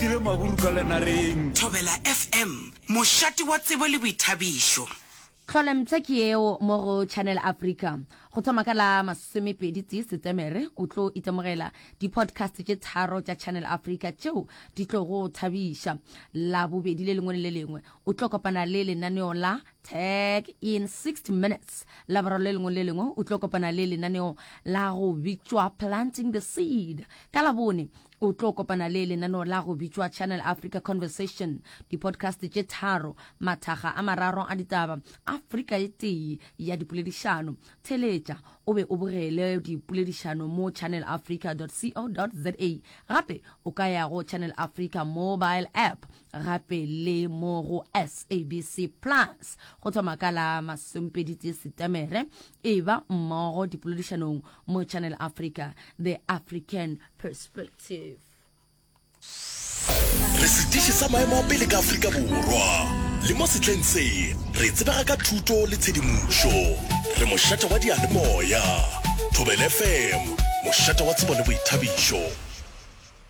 Ntile maburu ka lenareng. Thobela FM, mošate wa tsebo le boithabišo. Tlholempsha ke yeo mo go Channel Africa. Go thoma ka la masomepedi tee Setemere, o tlo itemogela di-podcast tše tharo tša Channel Africa tšeo di tlo go thabiša. Labobedi le lengwe le le lengwe o tlo kopana le lenaneo la Tag in 60 Minutes. Laboraro le lengwe le lengwe o tlo kopana le lenaneo la go bitšwa Planting the Seed. Ka Labone o tlo kopana le lenaneo la go bitšwa Channel Africa Conversation, di-podcast tše tharo, mathaga a mararo a ditaba, Afrika e tee ya dipoledišano. Theletša o be o bogele dipoledišano mo channelafrica.co.za. Gape o ka ya go Channel Africa mobile app gape le mo go SABC Plus. Go thoma ka la masomepeditee Setemere, eba mmogo dipoledišanong mo Channel Africa, The African Perspective. Re setiši sa maemo a pele ka Afrika Borwa, le mo sehleng se re tsebega ka thuto le tshedimošo. Re mošate wa diyalemoya. Thobela FM, mošate wa tsebo le boithabišo.